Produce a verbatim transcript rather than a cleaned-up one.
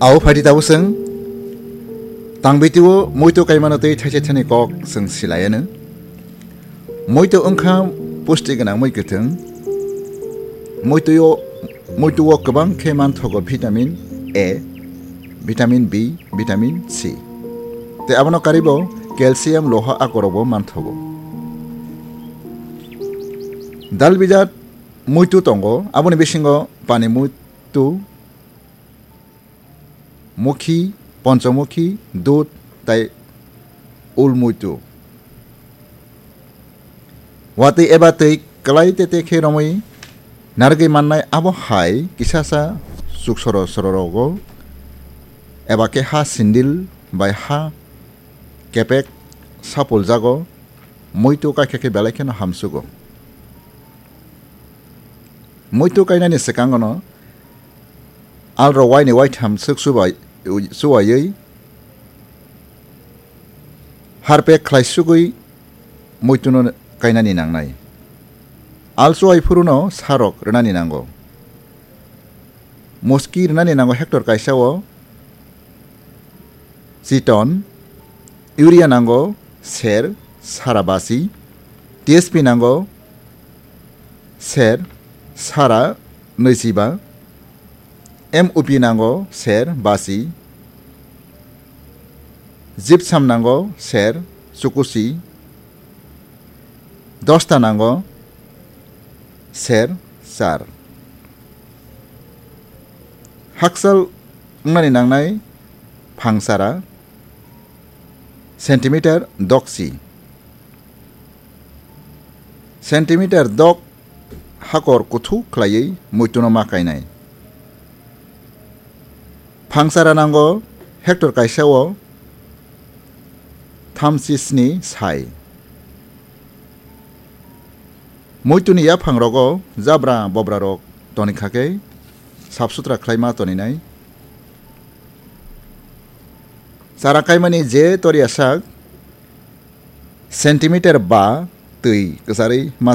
Abo phaidi tabuk chwng tangbitio muitu kaimano tei thaise thani kok chwng silayano. Muitu wngkha pusti gwnang mui kwthwng. Muituo, muituo kwbang khe manthogo vitamin A, vitamin B, vitamin C. Tei abono karibo calcium, loha akorokbo manthogo. Dal bijat muitu tongo, aboni bisingo pani muitu, mukhi, ponchomukhi, dud tei ul muitu. Watwi eba twi kwlai tete khe romwi narwgwi mannai, abo hai kisasa chuksoro sororogo eba khe ha sindil bai ha kepek sapuljago, muitu kaikha khe belai kheno hamsugo. Muitu kainani swkangono alrok waini waitham swk chubai-, chuwaiwi harpek khlai sugwi muituno kainani nangnai. Al chuwai phuruno sarok rwnani nango. Muski rwnani nango hectare kaisa o chiton, urea nango ser sara basi, T S P nango ser sara nwichiba, M O P nango ser basi, gypsum nango ser chukusi, dosta nango ser char. Hakchal wngnani nangnai phangsara centimeter doksi. Centimeter dok hakor kuthuk khlaiwi muituno ma kainai. Phangsara nango hectare kaisa o thamchi sni sai. Muituni yaphangrogo jabra bobrarok toni kha khe sap sutra khlaima toninai. Chara kaimani je toriya sak centimeter ba twi kwcharwi ma